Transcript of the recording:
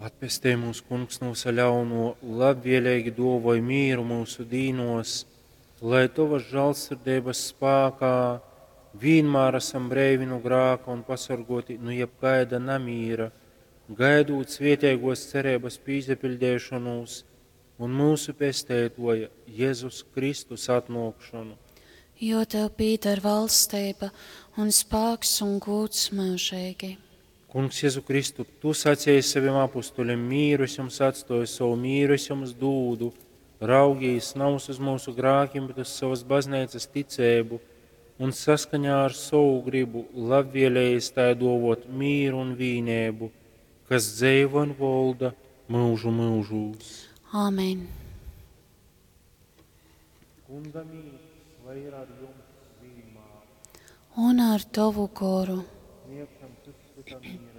Atpestej mūs, Kungs, no visa ļauno, labvēlīgi dōvoj mīru mūsu dīnos, lai Tovas žālsirdeibas spākā vienmēr esam breivi nu grāka un pasorgoti nu jebkaida namīra, gaidūt svietēgos cerības pīsapiļdēšonūs un mūsu pesteitoja Jēzus Kristus atnōkšonu. Jo tev pīdar valstība un spāks un gūds mūžīgi. Kungs, Jēzu Kristu, Tu sacīji saviem apustuļiem, mīru es jums atstoju, savu mīru es jums dūdu. Raugīs nav uz mūsu grākiem, bet uz savas baznīcas ticēbu un saskaņā ar savu gribu labvēlējies tai dovot mīru un vīnēbu, kas dzeivo un volda mūžu mūžūs. Āmen. Kunga mīrs, lai ir ar jums vienmēr. Un ar tavu goru. Sniegšam cits citam mieru.